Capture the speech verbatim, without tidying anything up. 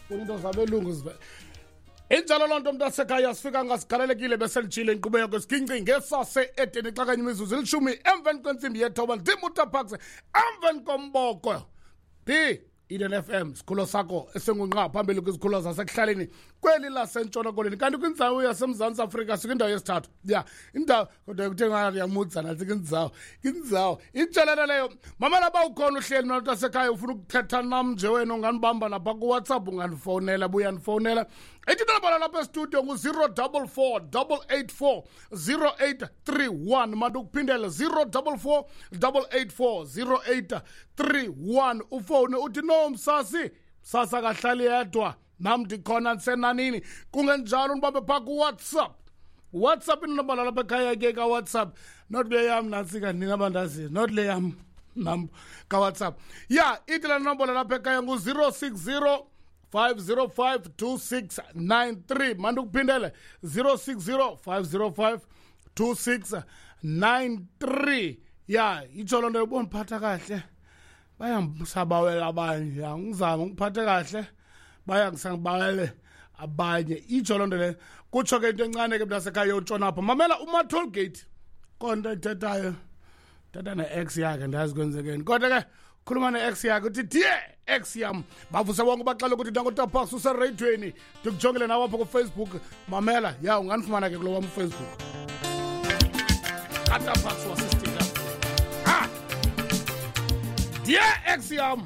Funa into zabelungu zive. Injalo loo nto, mntasekhaya, sifika ngasigalelekile beselijile inkqubo yakho siginci ngesase edeni xa kanye imizuzu elishumi emveni kwentsimbi yethoba. Ndim uTapax emveni komboko d Eden F M, sikhulo sakho esingunqa phambili kwizikhulo zasekuhlaleni kweli laseNtshona Koloni, kanti kwindzawo yaseMzantsi Afrika sikwindawo yesithathu. Ya, indawo kodwa kuthe ngathi yamudza nantsi kwindzawo kwindzawo itshelana leyo. Mamela, ba ukhona uhleli mna mntasekhaya, ufuna ukuthetha nam nje wena, unganibamba napha kuWhatsApp, ungandifowunela, buya ndifowunela. Ithi inombolo lapha estudio ngu-zero double four double eight four zero eight three one. Mandikuphindele, zero double four double eight four zero eight three one. Ufowune uthi, "No, msasi, msasi akahlali yedwa, nam ndikhona ndisenanini." Kungenjalo ndibambe phaa kuWhatsApp. WhatsApp, inombolo lapha ekhaya ke kaWhatsApp, not le yam nantsika, nina bandaziyo, not le yam nam kaWhatsApp. Ya, ithi laa nombolo lapha ekhaya ngu-zero six zero five zero five two six nine three. Mandikuphindele, zero six zero five zero five two six nine three. Ya, itsho loo nto, ubondiphatha kahle bayambusabawela abanye. Ya, ngizama ngiphathe kahle bayangisangibawele abanye. Itsho loo nto leyo, kutsho ke into encane ke mntasekhaya yotshona apha. Mamela, uma-toll gate konto ethethayo, thetha ne-ex yakhe, ndazi kwenzekeni, kodwa ke khuluma ne-ex yakhe, uthi, "Dear ex yam." Bavuse bonke, baxele ukuthi nangotapax usereyidweni. Ndikujongile nawe apho kuFacebook. Mamela, ya, ungandifumana ke kulo wam uFacebook katapax wasistika. Ha, dear ex yam.